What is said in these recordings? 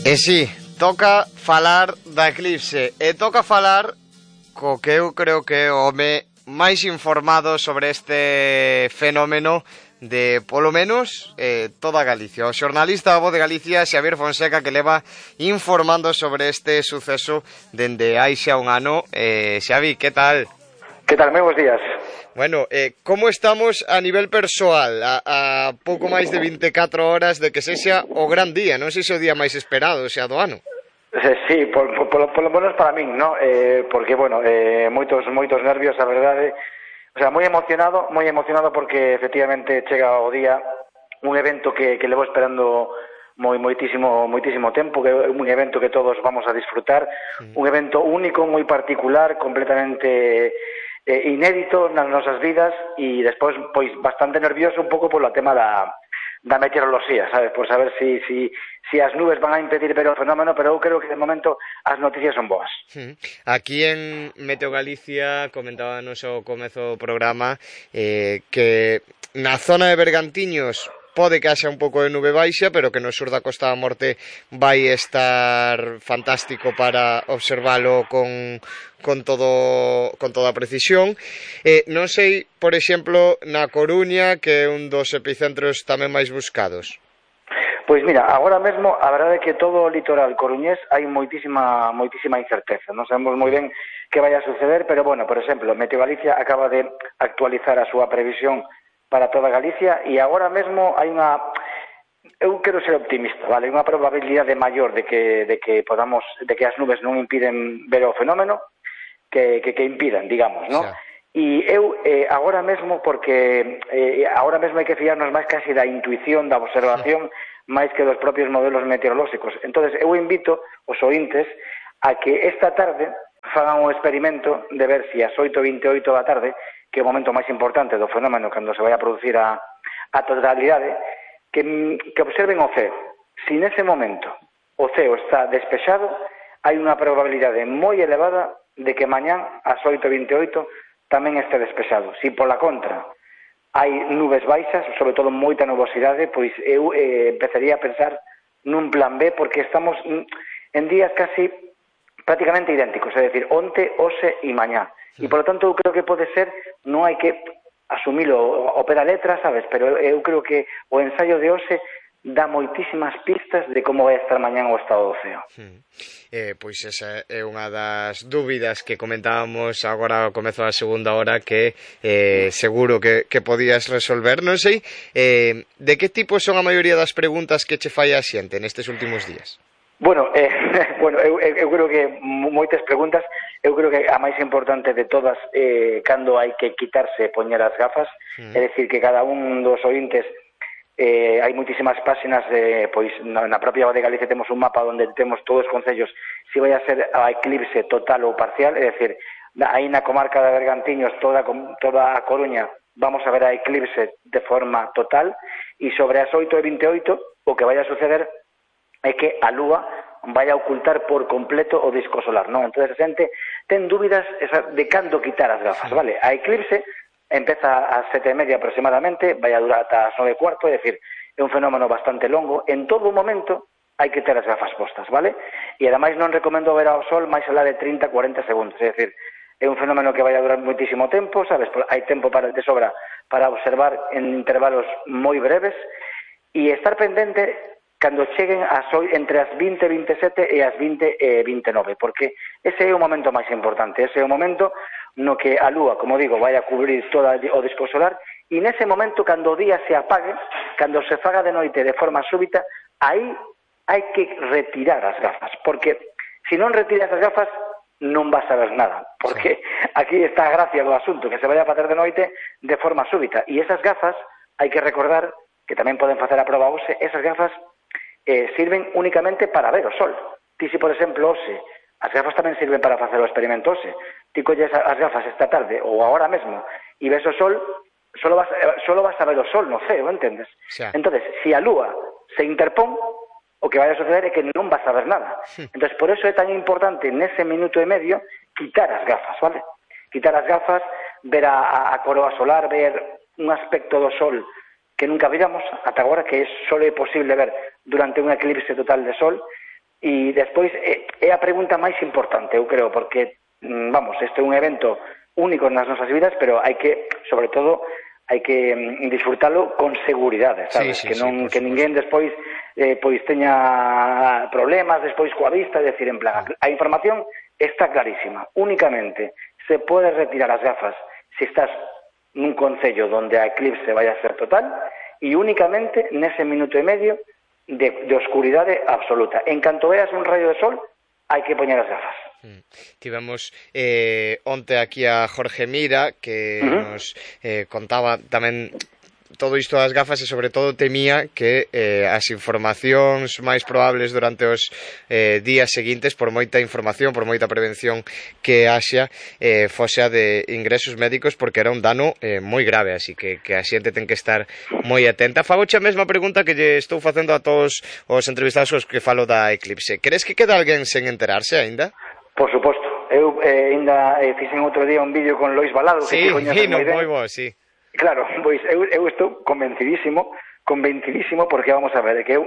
E si, toca falar da eclipse, e toca falar co que eu creo que é o home máis informado sobre este fenómeno de, polo menos, toda Galicia. O xornalista da Voz de Galicia, Xavier Fonseca, que leva informando sobre este suceso dende hai xa un ano. Xavi, que tal? Que tal? Moi bons días. Bueno, como estamos a nivel persoal a pouco máis de 24 horas de que sexa o gran día, non sei se o día máis esperado xa do ano? Sí, por lo menos para min, ¿no? Porque, bueno, moitos nervios, a verdade. O sea, moi emocionado porque efectivamente chega o día, un evento que levo esperando moitísimo tempo, que é un evento que todos vamos a disfrutar, un evento único, moi particular, completamente inédito nas nosas vidas, e despois pois bastante nervioso un pouco polo tema da meteoroloxía, sabes, por saber si as nubes van a impedir ver o fenómeno, pero eu creo que de momento as noticias son boas. Aquí en Meteo Galicia comentábamos ao comezo do programa que na zona de Bergantiños pode que haxa un pouco de nube baixa, pero que no sur da Costa da Morte vai estar fantástico para observalo con toda a precisión. Non sei, por exemplo, na Coruña, que é un dos epicentros tamén máis buscados. Pois mira, agora mesmo a verdade é que todo o litoral coruñés hai moitísima incerteza. Non sabemos moi ben que vai a suceder, pero bueno, por exemplo, Meteo Galicia acaba de actualizar a súa previsión para toda Galicia e agora mesmo hai unha... Eu quero ser optimista, vale? Unha probabilidade maior de que as nubes non impiden ver o fenómeno que impidan, digamos, ¿no? E eu agora mesmo, porque agora mesmo hai que fiarnos máis casi da intuición, da observación, máis que dos propios modelos meteorolóxicos. Entonces eu invito os ointes a que esta tarde fagan un experimento de ver se as 8:28 da tarde, que é o momento máis importante do fenómeno cando se vai a producir a totalidade, que observen o ceo. Se nese momento o ceo está despexado, hai unha probabilidade moi elevada de que mañán ás 8:28 tamén este despexado. Se pola contra hai nubes baixas, sobre todo moita nubosidade, pois eu empezaría a pensar nun plan B, porque estamos en días casi prácticamente idénticos, é dicir, onte, hoxe e mañá. E, por lo tanto, eu creo que pode ser, non hai que asumilo ao pé da letra, sabes, pero eu creo que o ensaio de hoxe dá moitísimas pistas de como vai estar mañán o estado do ceo. Pois esa é unha das dúbidas que comentábamos agora ao comezo da segunda hora que seguro que podías resolver. Non sei, de que tipo son a maioría das preguntas que che fai a xente nestes últimos días? Bueno, eu creo que moitas preguntas. Eu creo que a máis importante de todas cando hai que quitarse e poñer as gafas, é dicir, que cada un dos ointes hai moitísimas páxinas, pois na propia Voz de Galicia temos un mapa onde temos todos os concellos se vai a ser a eclipse total ou parcial, é dicir, aí na comarca de Bergantiños, toda a Coruña, vamos a ver a eclipse de forma total, e sobre as 8:28 o que vai a suceder é que a lúa vai a ocultar por completo o disco solar, non? Entón, a xente ten dúbidas de cando quitar as gafas, vale? A eclipse empeza ás 7:30 aproximadamente, vai a durar ata as 9:15, é dicir, é un fenómeno bastante longo. En todo momento hai que ter as gafas postas, vale? E ademais non recomendo ver ao sol máis alá de 30-40 segundos, é dicir, é un fenómeno que vai a durar moitísimo tempo, sabes? Hai tempo de sobra para observar en intervalos moi breves e estar pendente cando cheguen entre as 20:27 e as 20:29, porque ese é o momento máis importante, ese é o momento no que a lúa, como digo, vai a cubrir todo o disco solar, e nese momento, cando o día se apague, cando se faga de noite de forma súbita, aí hai que retirar as gafas, porque se non retiras as gafas non vas a ver nada, porque aquí está a gracia do asunto, que se vai a facer de noite de forma súbita, e esas gafas, hai que recordar, que tamén poden facer a proba hoxe, esas gafas sirven únicamente para ver o sol. Ti, se por exemplo, hoxe, as gafas tamén sirven para facer o experimento hoxe. Ti colles as gafas esta tarde ou agora mesmo e ves o sol, solo vas a ver o sol no ceo, entendes? Entonces, se a lúa se interpón, o que vai a suceder é que non vas a ver nada. Entonces, por eso é tan importante nese minuto e medio quitar as gafas, vale? Quitar as gafas, ver a coroa solar, ver un aspecto do sol que nunca viramos ata agora, que só é posible ver durante un eclipse total de sol, E despois é a pregunta máis importante, eu creo, porque, vamos, este é un evento único nas nosas vidas, pero hai que, sobre todo, hai que disfrutalo con seguridade, sabes? Sí, que non sí, que ninguén despois pois teña problemas despois coa vista, é dicir, en plan, a información está clarísima. Únicamente se pode retirar as gafas se estás nun concello donde a eclipse vai a ser total e únicamente nese minuto e medio de oscuridade absoluta. En canto veas un rayo de sol, hai que poñer as gafas. Tivemos onte aquí a Jorge Mira que nos contaba tamén todo isto das gafas e sobre todo temía que as informacións máis probables durante os días seguintes, por moita información, por moita prevención que haxa, fose a de ingresos médicos, porque era un dano moi grave, así que a xente ten que estar moi atenta. Fagoche a mesma pregunta que lle estou facendo a todos os entrevistados os que falo da eclipse. Crees que queda alguén sen enterarse aínda? Por suposto. Eu ainda fixen outro día un vídeo con Lois Balado, que sí, te coñeces moi ben. Moi bo, sí. Claro, pois eu estou convencidísimo, porque vamos a ver, que eu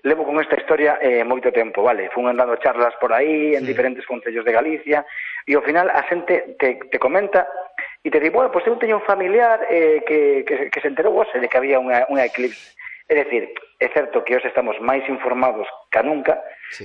levo con esta historia moito tempo, vale? Fun andando charlas por aí, en diferentes concellos de Galicia, e ao final a xente te comenta e te di, bueno, pois eu teño un familiar que se enterou hoxe de que había unha eclipse. É dicir, é certo que hoxe estamos máis informados que nunca,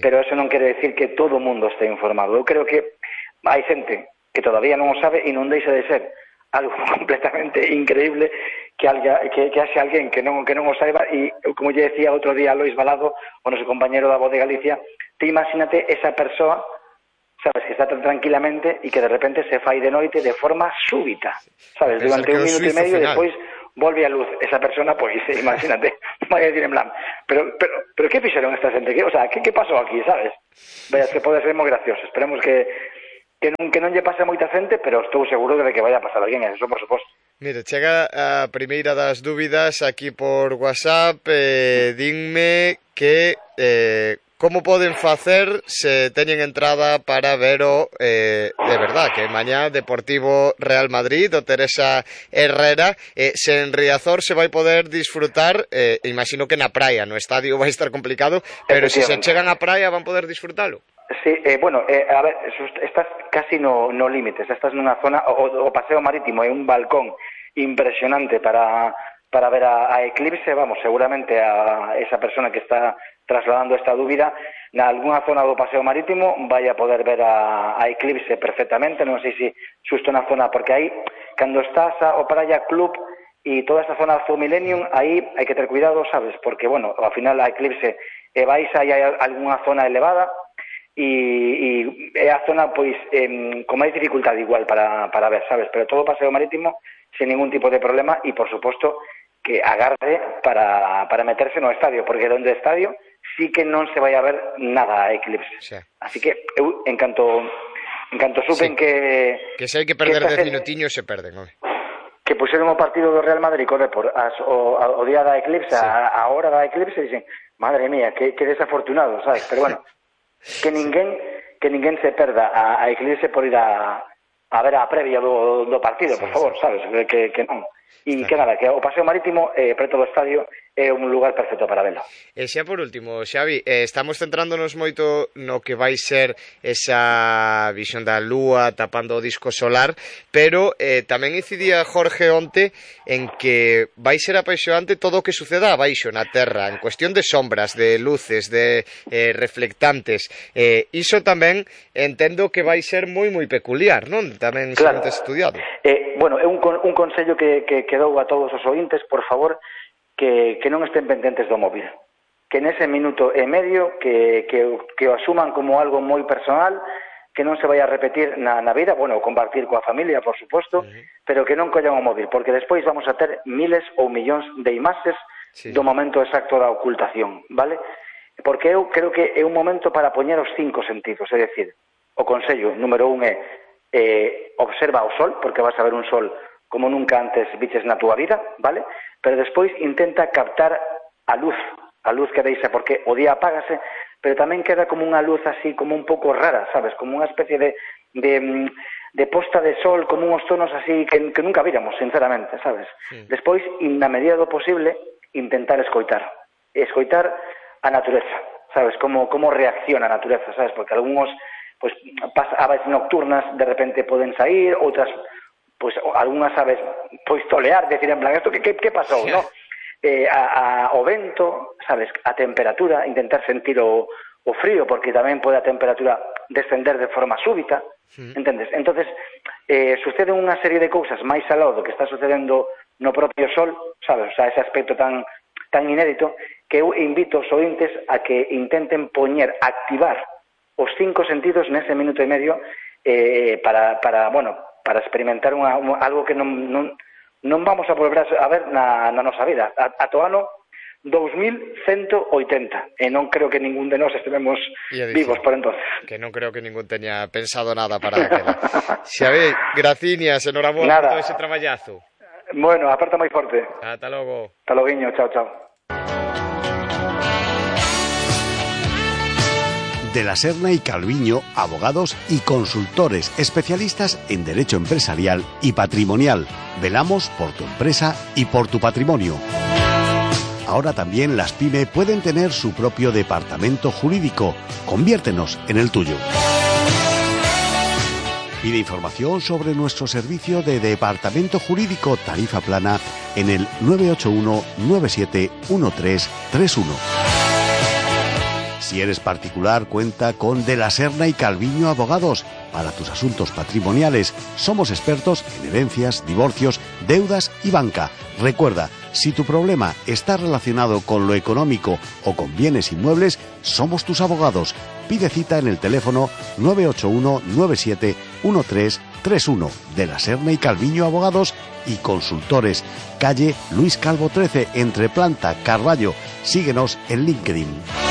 pero eso non quere decir que todo o mundo este informado. Eu creo que hai xente que todavía non o sabe e non deixa de ser algo completamente increíble que haxe alguén que non o saiba. E como lle decía outro día a Lois Balado, o noso compañero da Voz de Galicia, te imagínate esa persoa, sabes, que está tan tranquilamente e que de repente se fai de noite de forma súbita, sabes, durante un minuto e medio e despois volve a luz esa persona, pois imagínate, vai a decir en plan, pero que fixeron esta xente? O sea, que pasou aquí, sabes? Veas que pode ser moi gracioso. Esperemos que non lle pase a moita xente, pero estou seguro de que vai a pasar a alguén, eso por suposto. Mira, chega a primeira das dúbidas aquí por WhatsApp, dinme que como poden facer se teñen entrada para ver o de verdad, que mañá Deportivo Real Madrid o Teresa Herrera, se en Riazor se vai poder disfrutar, imagino que na praia, no estadio vai estar complicado, pero se chegan á praia van poder disfrutalo. Sí, bueno, a ver, estás casi no límite, estás nunha zona, o paseo marítimo, é un balcón impresionante para ver a eclipse, vamos, seguramente a esa persona que está trasladando esta dúbida, na algunha zona do paseo marítimo vai a poder ver a eclipse perfectamente, non sei se xusto na zona, porque aí, cando estás ao Praia Club e toda esta zona do Millennium, aí hai que ter cuidado, sabes, porque, bueno, ao final a eclipse vais aí a algunha zona elevada, e é a zona pois con máis dificultade igual para ver, sabes, pero todo o paseo marítimo sin ningún tipo de problema e por suposto que agarde para meterse no estadio, porque donde estadio sí que non se vai a ver nada a eclipse. Sí. Así que eu en canto supen que se hai que perder 10 minutiños se perden, non? Que puxeron o partido do Real Madrid co Depor o día da eclipse, a hora da eclipse, dicen, madre mía, que desafortunado, sabes, pero bueno, que ninguén se perda a eclipse por ir a ver a previa do partido, por favor, sabes, que non. E que nada, que o paseo marítimo preto do estadio é un lugar perfecto para velo. E xa por último, Xavi, estamos centrándonos moito no que vai ser esa visión da lúa tapando o disco solar, pero tamén incidía Jorge onte en que vai ser apaixonante todo o que suceda abaixo na terra, en cuestión de sombras, de luces, de reflectantes. Iso tamén entendo que vai ser moi peculiar, non? Tamén claro. Xente estudiado. Bueno, é un consello que dou a todos os ointes, por favor, que non estén pendentes do móvil, que nese minuto e medio que o asuman como algo moi personal, que non se vai a repetir na vida, bueno, compartir coa familia, por suposto, pero que non collan o móvil, porque despois vamos a ter miles ou millóns de imaxes do momento exacto da ocultación, vale? Porque eu creo que é un momento para poñer os 5 sentidos, é dicir, o consello número 1 é observa o sol, porque vas a ver un sol como nunca antes viches na túa vida, vale? Pero despois intenta captar a luz que deixa, porque o día apágase, pero tamén queda como unha luz así, como un pouco rara, sabes? Como unha especie de posta de sol, como uns tonos así que nunca víramos, sinceramente, sabes? Despois, na medida do posible, intentar escoitar a natureza, sabes, como reacciona a natureza, sabes, porque algúns, pois, aves nocturnas de repente poden sair, outras, pois, algunhas aves, pois, tolear, decir, en plan, isto que pasou, non? O vento, sabes, a temperatura, intentar sentir o frío, porque tamén pode a temperatura descender de forma súbita, entendes? Entonces, sucede unha serie de cousas máis aló do que está sucedendo no propio Sol, sabes, o sea, ese aspecto tan inédito, que eu invito os ointes a que intenten activar os 5 sentidos nese minuto e medio para experimentar algo que non vamos a volver a ver na nosa vida. Ata o ano 2180, e non creo que ningún de nós estivemos vivos por entonces. Que non creo que ningún teña pensado nada para aquela. Xavi, graciñas, enhorabuena por todo ese traballazo. Bueno, aperta moi forte. Ata logo. Ata loguiño, chao, chao. De la Serna y Calviño, abogados y consultores especialistas en derecho empresarial y patrimonial. Velamos por tu empresa y por tu patrimonio. Ahora también las PYME pueden tener su propio departamento jurídico. Conviértenos en el tuyo. Pide información sobre nuestro servicio de departamento jurídico tarifa plana en el 981 97 1331. Si eres particular, cuenta con De la Serna y Calviño Abogados. Para tus asuntos patrimoniales, somos expertos en herencias, divorcios, deudas y banca. Recuerda, si tu problema está relacionado con lo económico o con bienes inmuebles, somos tus abogados. Pide cita en el teléfono 981 97 1331. De la Serna y Calviño Abogados y Consultores. Calle Luis Calvo 13, entre Planta, Carballo. Síguenos en LinkedIn.